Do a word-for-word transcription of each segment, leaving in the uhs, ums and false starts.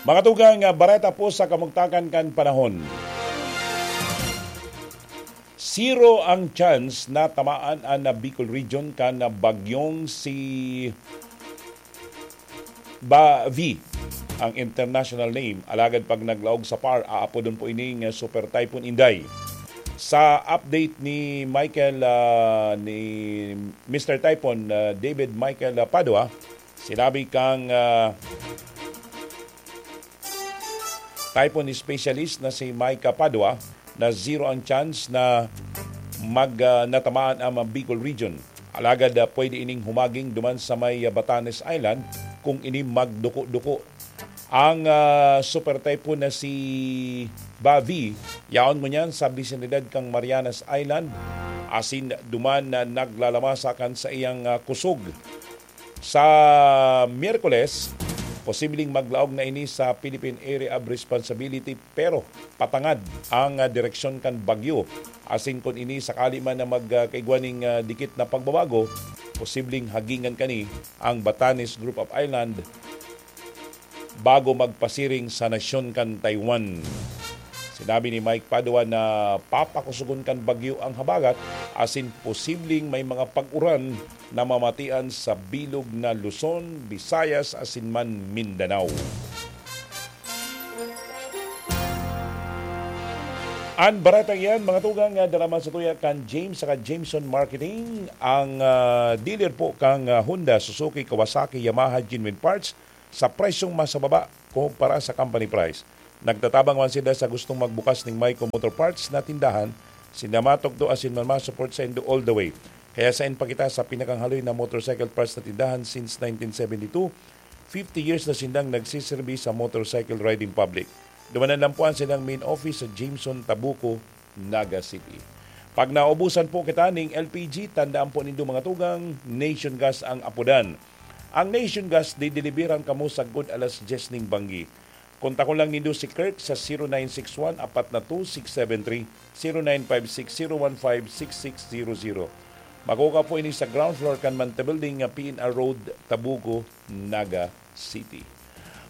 Mga tugang, ah, bareta po sa kamugtakan kan panahon. Zero ang chance na tamaan an, ah, Bicol Region kan, ah, bagyong si Bavi, ang international name. Alagad pag naglaog sa par, aapodon po ining, ah, Super Typhoon Inday. Sa update ni Michael, ah, ni Mister Typhoon, ah, David Michael, ah, Padua, sinabi kang, ah, typhoon specialist na si Micah Padua na zero ang chance na mag, ah, natamaan ang Bicol Region. Alagad, ah, pwede ining humaging duman sa may, ah, Batanes Island kung ini magduko-duko. Ang, ah, super typhoon na si Bavi, yaon ngunyan sa bisinidad kan Marianas Island, asin duman na naglalamasa kan saiyang, ah, kusog. Sa Miyerkules, posibleng maglaog na ini sa Philippine Area of Responsibility, pero patangad ang, ah, direksyon kan bagyo. Asin kun ini sakali man na mag, ah, kaigwa ning, ah, dikit na pagbabago, posibleng hagingan kani ang Batanes Group of Island bago magpasiring sa nasyon kan Taiwan. Sinabi ni Mike Padua na papakusugon kan bagyo ang habagat asin posibleng may mga pag-uran na mamatian sa bilog na Luzon, Visayas asin man Mindanao. An baretang iyan, mga tugang, nga dara man sa tuya kan James saka Jameson Marketing, ang, ah, dealer po kang, ah, Honda, Suzuki, Kawasaki, Yamaha, Genuine Parts, sa presyong mas mababa kumpara sa company price. Nagtatabang man sila sa gustong magbukas ning Maico Motor Parts na tindahan, sinda matugdo asin man ma-support saindo all the way. Kaya sain pa kita sa pinakahaloy na motorcycle parts na tindahan since nineteen seventy-two, fifty years na sindang nagsiserbi sa motorcycle riding public. Dumanan lang po ang silang main office sa Jameson, Tabuco, Naga City. Pag naubusan po kita ning L P G, tandaan po nindo, mga tugang, Nation Gas ang apodan. Ang Nation Gas, dideliveran kamo sagkod alas dyes ning banggi. Kontakon lang nindo si Kirk sa zero nine six one, apat na two, six seven three, zero nine five six, zero one five, six six zero zero. Makukuha po ini sa ground floor kan Manta Building nga P N R Road, Tabuco, Naga City.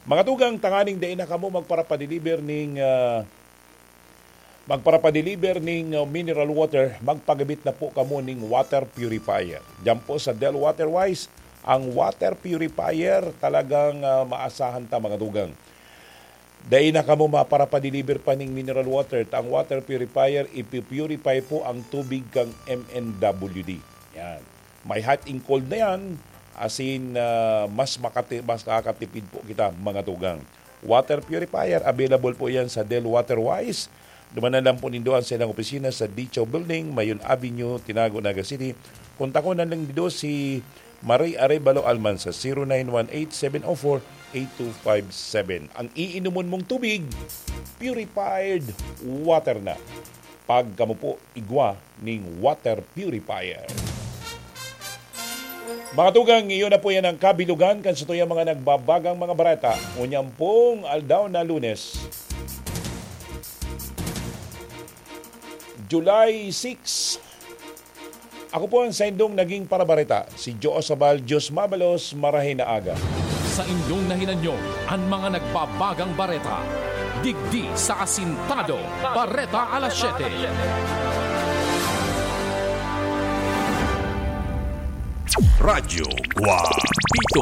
Mga tugang, tanganing dai na kamo magparapadeliver ning, ah, magparapadeliver ning, uh, mineral water, magpagabit na po kamo ning water purifier. Diyan po sa Del Water Wise, ang water purifier talagang, uh, maasahan ta, mga tugang. Dai na kamo maparapadeliver pa ning mineral water, ta ang water purifier, ipi-purify po ang tubig kang M N W D. Yan. May hot and cold na yan, asin, uh, mas makati-, mas nakakatipid po kita, mga tugang. Water purifier, available po yan sa Del Water Wise. Dumanan lang po nindo ang silang opisina sa Dicho Building, Mayon Avenue, Tinago, Naga City. Kontakon na lang nindo si Marie Arevalo Alman sa zero nine one eight, seven oh four, eight two five seven. Ang iinomon mong tubig, purified water na. Pag kamo po igwa ning water purifier. Mga tugang, iyon na po yan ang kabilugan kan satuyang mga nagbabagang mga bareta. Ngunyan pong aldaw na Lunes, July six. Ako po ang saindong naging parabareta, si Joe Sabal. Diyos mabalos, marahay na aga. Sa inyong nahinanyo, an mga nagbabagang bareta. Digdi sa Asintado, Bareta Alas Siyete. Radyo Guapito.